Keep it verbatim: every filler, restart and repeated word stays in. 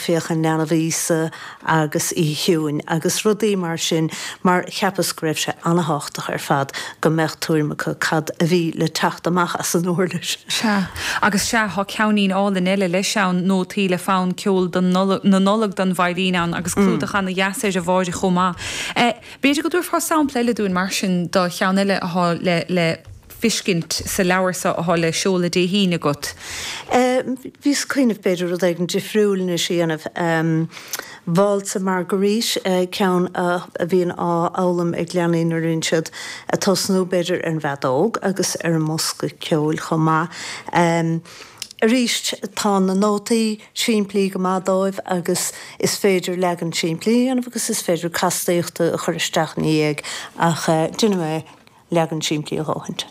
Féach an Leanbh Íosa agus Oíche Chiúin agus rudaí mar sin mar cheapas go raibh sé an-tábhachtach ar fad go mbeadh tuairim acu cad a bhí le teacht amach as an uirlis. Sea agus sea tá ceainnín álainn eile leis ann nótaí le fonn ceoil na Nollag don veidhlín ann agus clúdach ana-dheas air a Mháire chomh maith. Eh, b'fhéidir go dtabharfá sampla eile dúinn mar sin de cheann eile atá le le feiscint sa leabhar seo atá le seoladh Dé hAoine agat. Bhíos ag cuimhneamh b'fhéidir rud éigin difriúil anois a dhéanamh. Válsa Marguerite ceann a bhíonn á fhoghlaim ag leanaí nuair a bhíonn siad ag tosnú b'fhéidir ar an bhfeadóg agus ar an mbosca ceoil chomh maith. Arís tá na nótaí simplí go maith dóibh agus is féidir leagan simplí a dhéanamh agus is féidir castaíochta a chur isteach ina dhiaidh ach déanfaidh mé leagan simplí a dhóthaint.